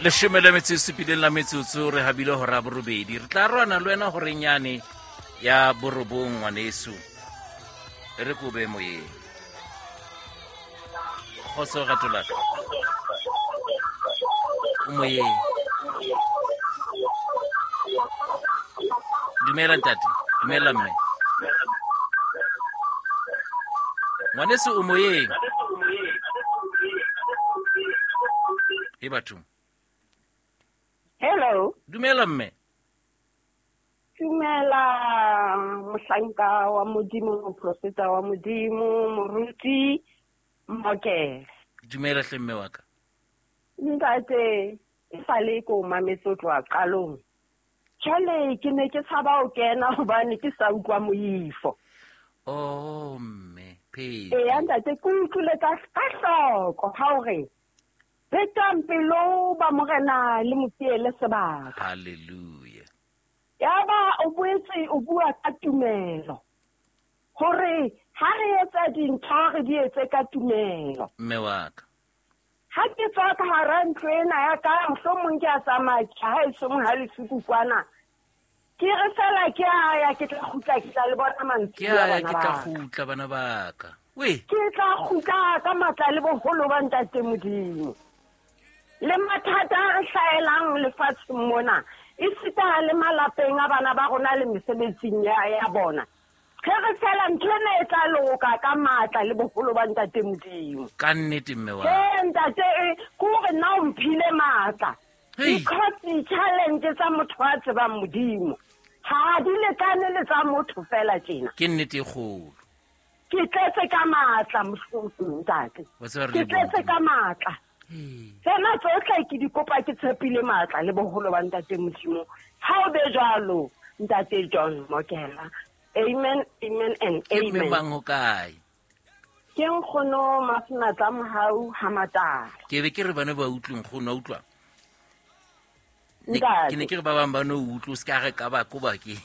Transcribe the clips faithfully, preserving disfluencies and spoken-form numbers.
Leshome le metso e supileng la metsotso re habile hora borobedi. Re tla rwana le wena horeng yane ya borobong ngwaneso. E re ko be moyeng. Kgotso rato la ka. O moyeng. Dumela ntate, dumela mme. Ngwaneso o moyeng. E batho. Hello. Dumela mme. Dumela mohlanka wa Modimo, moprofeta wa Modimo, moruti Mokele. Dumela hle mme wa ka. Ntate, e sale ko mametse tloha qalong. Jwale ke ne ke tshaba ho kena hobane ke sa utlwa moifo. Oh mme, phe. Eya ntate, ke utlwile ka ka hloko ha o re betang pelo ba morena le mo fiele sebaka. Hallelujah. Yaba o boetse o bua ka tumelo. Hore ha re etsa dintho re di etse ka tumelo. Mme wa ka. Ha ke tswa ka hara ntlo ena ya ka, mohlomong ke a tsamaya ke ha e song ha le suku kwana. Ke re fela ke a ya ke tla kgutla ke tla le bona mantsibuya Ke a ya bana ke tla ba ka. kgutla bana ba ka. We. Ke tla kgutla ka matla le boholo ba ntate Modimo. Le mathata a re hlahelang lefatsheng mona, esita le malapeng a bana ba rona le mesebetsing ya, ya bona. Ge re fela ntho ena e tla loka ka matla le boholo ba ntate Modimo. Ka nnete mme wa. Ee, ntate, e, ke hore nna o mphile matla. Hei. Because di-challenge tsa motho a tsebang Modimo ha di lekane le tsa motho fela tjena. Ke nnete e kgolo. Ke tletse ka matla, mohlomong, ntate. Wa tseba re Ke le tletse Modimo. ka matla. Hei. Tsena tsohle ke di kopa ke tshepile matla le boholo ba ntate Modimo. Ha o be jwalo, ntate John Mokela. Amen, amen and Ke mme amen. mang ho kae? Ke nkgono Masenatla Mohau ha Matala. Ke be ke re bana ba utlwe nkgono, wa utlwa? Ne Ntate. ke ne ke re ba bang ba no utlwe, o se ka re ka ba ko ba ke.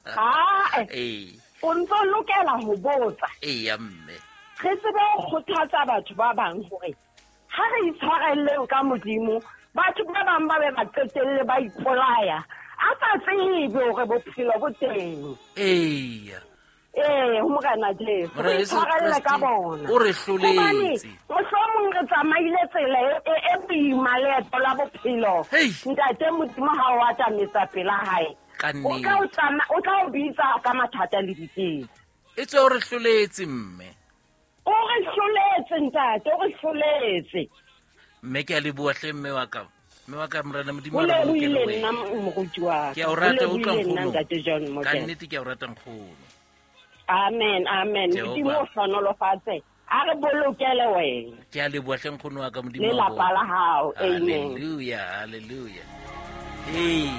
Hae. Ee. O ntso lokela ho botsa. Eya mme. Re tsebe ho kgothatsa batho ba bang hore ha re itshwarelleng ka Modimo, batho ba bang ba be ba qetelle ba ipolaya. A sa tsebe hore bophelo bo teng. Eya. Ee, ho Morena Jesu. Morena Re Jesu itshwarelle ka Kreste bona. o re hloletse. Hobane mohlomong re tsamaile tsela e, e, e boima leeto la bophelo. Hei. Ntate Modimo ha o atametsa pela hae, Ka o tla o nnete. tsama-, o tla o bitsa ka mathata le diketso. E tswe o re hloletse mme. O re hloletse ntate, o re hloletse. Mme ke a leboha hle mme wa ka. Mme wa ka Morena Modimo Ho a re bolokele lebohile wena. nna moruti wa ka. Ke a o rata, Ho utlwa lebohile nna nkgono. ntate John Ka Mokela. nnete ke a o rata nkgono. Amen, amen. Jehova. Modimo o hlohonolofatse. A re bolokele wena. Ke a leboha hle nkgono wa ka, Modimo Le wa lapa bona. la hao. Amen. Hallelujah, hallelujah. Hey,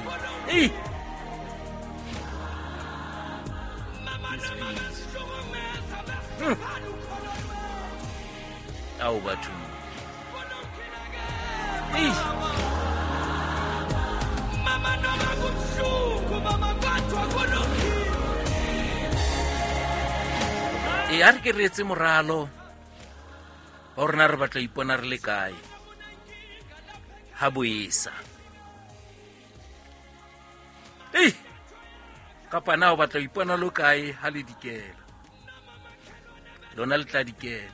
hey. Hmm. Ao batho. Hey. Mama noma kubuhlungu, mama kodwa kulungile. E a re ke re etse moralo wa hore na re batla ho ipona re le kae ha boesa. Ei, kapa na o batla ho ipona lo kae ha le dikela? Lona le tla dikela.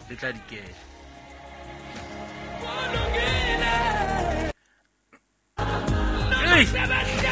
Le tla dikela. Ei!